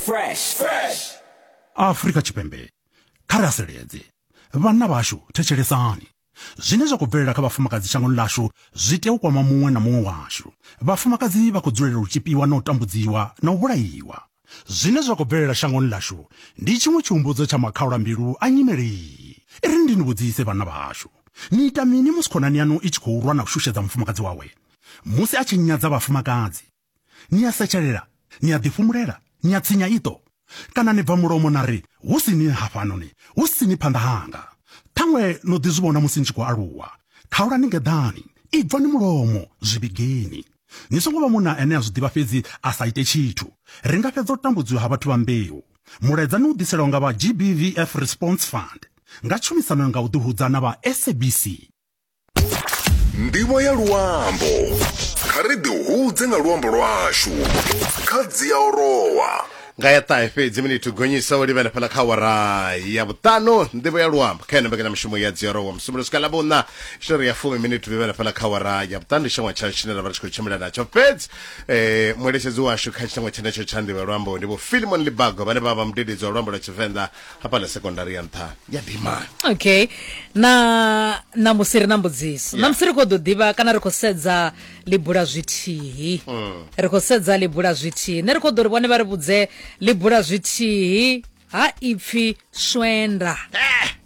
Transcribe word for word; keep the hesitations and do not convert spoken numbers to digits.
Fresh. Fresh. Afrika Tshipembe, kha ri haseledze. Vhanna vhashu, thetshelesani. Zwine zwa khou bvelela kha vhafumakadzi shangoni ḽashu zwi tea u kwama muṅwe na muṅwe washu. Vhafumakadzi vha khou dzulela u tshipiwa na u tambudziwa na u vhulaiwa. Zwine zwa khou bvelela shangoni ḽashu ndi tshiṅwe tshihumbudzo tsha makhaulambilu a nyimele iyi. I ri ndi ni vhudzise vhanna vhashu. Ni ita mini musi khonani yaṋu i tshi khou rwa na u shushedza mufumakadzi wawe? Musi a tshi nyadza vhafumakadzi, ni a setshelela, ni a ḓifhumulela, ni a tsinya iṱo, kana ni bva mulomo na ri hu si ni hafhanoni, hu si ni phanḓa hanga. Ṱhaṅwe no ḓi zwi vhona musi ni tshi khou aluwa. Khaulani ngeḓani, ibvani mulomo, zwi vhigeni. Ni songo vha munna ane a zwi ḓivha fhedzi a sa ite tshithu. Ri nga fhedza u tambudziwa ha vhathu vha mbeu. Mulaedza ni u ḓiselwa nga vha G B V F Response Fund nga tshumisano nga u ḓihudza na vha S A B C. Nḓivho ya luambo. Kha ri ḓihudze nga luambo lwashu. Kha Dziaorowa. Nga ya ṱahe fhedzi minithu gonyisa u livhana fhala kha awara ya vhuṱanu. Nḓivho ya luambo kha ino mbekanyamushumo ya Dziaorowa musumbulo swika ḽa vhuṋa tshi ya fumi minithu livhana fhala kha awara ya vhuṱanu. Ndi tshengwa tsha tshine ra vha ri tshi khou tshimbila natsho fhedzi eh mueletshedzi washu kha tshengwa tshenetsho tsha nḓivho ya luambo ndi Vho Philemon Libago vhane vha vha mudededzi wa luambo lwa Tshivenḓa hafhaḽa sekondari ya nṱha ya Dimani. Okay, na ṋamusi ri na mbudziso. Yeah. Ṋamusi ri khou ḓo ḓivha kana ri khou sedza ḽibula zwithihi. Mm. Ri khou sedza ḽibula zwithihi. Nṋe ri khou ḓo ri vhone vha ri vhudze ḽibula zwithihi ha ipfi swenda. Eh.